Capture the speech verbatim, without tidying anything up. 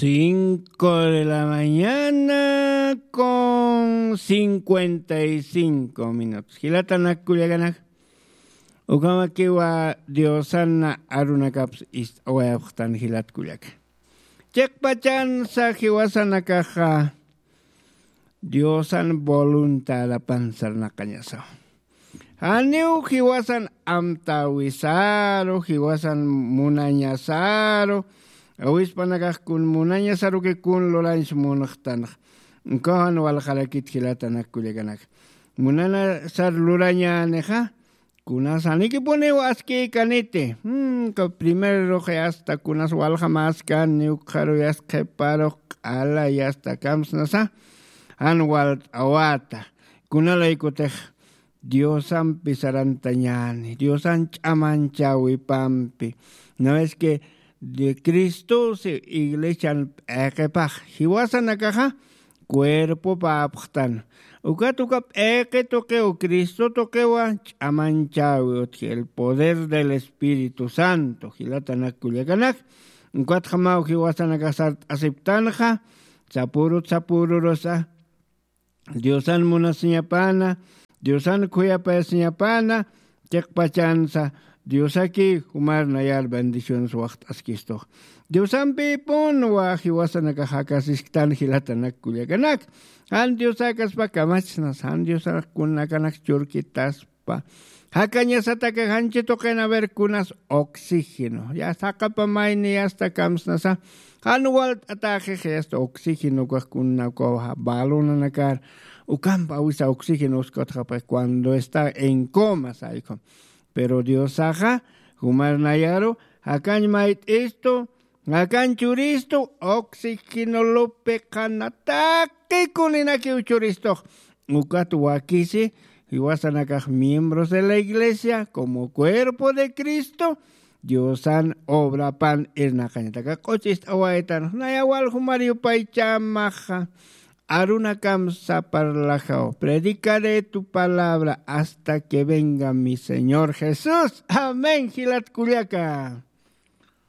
Cinco de la mañana con cincuenta y cinco minutos. Jilatanak kullakanak. Ukamakiwa Diosana arunakaps ist'awayapxtan jilat kullaka. Chiqpachansa jiwasanakaxa Diosan voluntadapan sarnaqañasaw. Janiw jiwasan amtäwisaru, jiwasan munañasaru, awispanakax kun munañasaruki kun lurañs munxtanx. Ukax jan walxarakit jilatanak kullakanak. Munanasar lurañänixa, kunas janikipuniw askïkaniti. Hmm, ka primerux yasta kunas waljamäskani, ukxaru yasta qhiparux q'ala yasta kamsnasa, jan walt'awata. Kunalaykutix Diosampi sarantañäni, Diosan ch'amanchäwipampi. Una vez que de Cristosi iglesian p'iqipax jiwasanakaxa cuerpopäpxtan. Ukat uka p'iqi tuqiw Cristo tuqiwa ch'amanchäwi utji, el poder del Espíritu Santo, jilatanak kullakanak. Ukatjamaw jiwasanakax sart'asiptanxa, sapürut sapürurusa, Diosan munasiñapana, Diosan khuyapayasiñapana, chiqpachansa, Diosaki jumar nayar bendiciones waxt'askistux. Diosampipunwa jiwasanakax jakasisktan jilatanak kullakanak. Jan Diosakaspa kamachsnas, jan Diosanak kunakanak churkitaspa. Jakañasataka janchi tuqin a ver kunas oxígeno. Ya saqapa mayni yasta kamsnasa. Jan walt'atäxix yasta oxígeno ukax kuna ukaw balonanakar. Ukampa awisa oxígeno uskatxapa cuando está en coma, saykhu. Pero Diosaxa, jumar nayaru, jakañ mayt'istu, jakañ churistu, oxígeno lupi qhana taqi kuninakiw churistux. Ukat wakisi, jiwasanakax miembros de la iglesia, como cuerpo de Cristo, Diosan obrapan irnaqañataka q'uchist'awaytan, naya wal jumar yupaychamaxa. Arunakamsa parlajaw. Predicaré tu palabra hasta que venga mi Señor Jesús. Amén, jilat kullaka.